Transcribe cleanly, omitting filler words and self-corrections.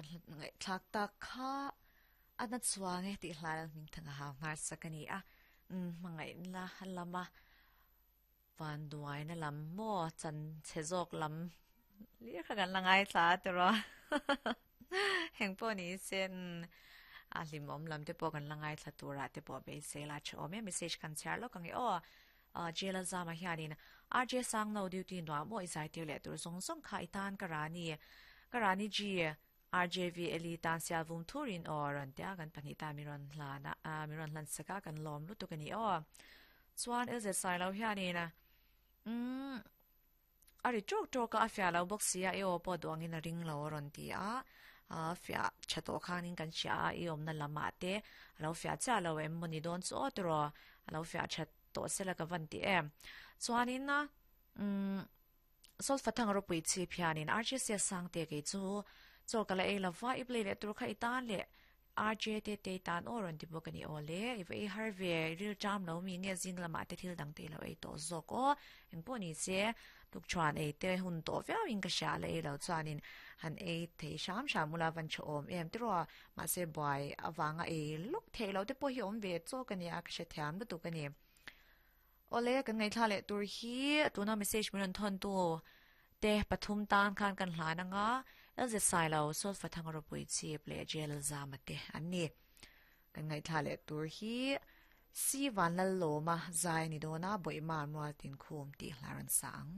Kan ngaihthlak tak kha a na chuang e tih hlai hming thang a hau nghar sak a ni a. Hmangaihna lama vanduaina lam maw chan chhe zawk lam lir kha kan la ngaithla a tiraw. Heng pawh ni se a hlimawm lam te pawh kan la ngaithla turah te pawh beisei la tha awm e. Message kan chhiar lawk ang e aw. Jail a zama hianin RJ Sangno duty nuam maw i zaitir leh tur zawng zawng kha i tan ka rani ka rani G RJV Eli tan sial vum thurin aw rawn tia kan pahnih tan min rawn hlan a min rawn hlan sak a kan lawm lutuk a ni aw chuan LZ Sailo hianin umm a ri tawk tawk a a fiah lo bawk sia i aw pawh duangin a ring lo a rawn ti a a fiah tha tawh khanin kan hria a i awmna lamah te a lo fiah chiah lo em maw ni dawn chu aw tiraw a lo fiah that tawh sela ka van ti em. Chuanin umm Solfa thang ropui chhip hianin RJ sia Sangte kei chu chaw ka la ei lova i play leh tur kha i tan leh RJ te te i tan aw rawn ti bawk a ni aw le i va ei har ve i ril ṭam lo mi nge zing lamah te thil dang te i lo ei tawh zawk aw engpawh ni se tukṭhuan ei te hun tawh viau in ka hria la ei lo chuanin han ei thei hram hram ula van ṭha awm em tiraw Mahse buai avanga ei lawk theih loh te pawh hi awm ve chawk a nia, ka hrethiam lutuk a ni. Awle, kan ngaihthla leh tur hi tuna message min rawn thawn tu te pathum tan khan kan hlan anga LZ Sailo, Solfa Thanga Ropui Chip leh JL Zama te an ni. Kan ngaihthla leh tur hi Si Vanlallawma zai a ni dawn a, Bawihma Mualtinkhum tih hla rawn sa ang.